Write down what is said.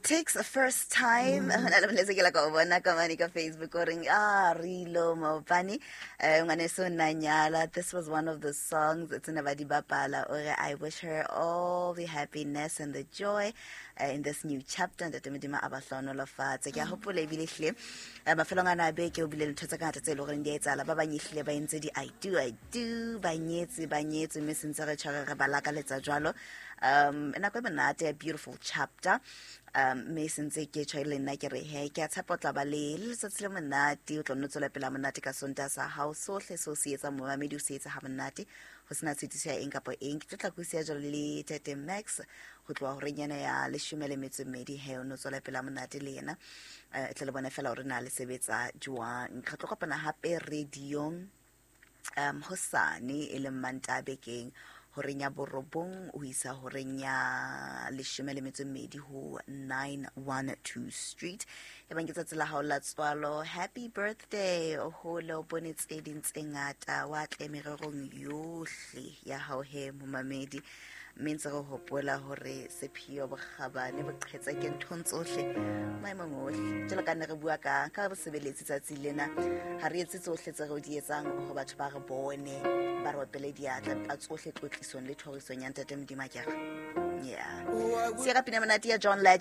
Takes a first time. Ho na le molaetsa ke la ka o bona ka mane ka Facebook o reng ah rilo maobane ngwaneso nna nyala. This was one of the songs tse ne ba di bapala. O re I wish her all the happiness and the joy in this new chapter. Ntate Modimo a ba hlohonolofatse. Ke a hopola ebile hlile mafelong ana a beke o bile le ntho tse ngata tse e leng goreng di a etsahala. Ba bang ehlile ba entse di I do, I do, ba nyetse, ba nyetswe, mme sentse re tshware re ba lakaletsa jwalo. Nako e monate, a beautiful chapter. Mme sentse ke tjho le nna ke re he ke a tshepa o tla ba le letsatsi le monate, o tla nno tswela pele monate ka Sontaha sa hao, sohle seo se etsang momamedi o se etsa ha monate, ho sena tshitiso ya eng kapa eng. Ke tlo tla kusia jwalo le Tate Max ho tloha horeng ena ya 12:30, he o no tswela pele monate le yena. Tle le bone fela hore na le sebetsa jwang. Re tlo kopana hape radiong hosane e leng Mantaha bekeng horeng ya 9 ho isa horeng ya 12 ho 912 Street. E bang ke tsatsi la hao la tswalo, happy birthday, o hole o bone tse ding tse ngata, wa tle mererong yohle ya hao he momamedi. Mme ntse re hopola hore sepheo bokgabane boqhetsa ke nthong tsohle maemong ohle. Jwalo ka ne re bua ka bosebeletsi tsatsi lena, ha re etse tsohle tse re di etsang hore batho ba re bone, ba re opele diatla, empa tsohle tlotlisong le thorisong ya Ntate Modimo akere. Yeah. Sierra pina monate ya John Legend.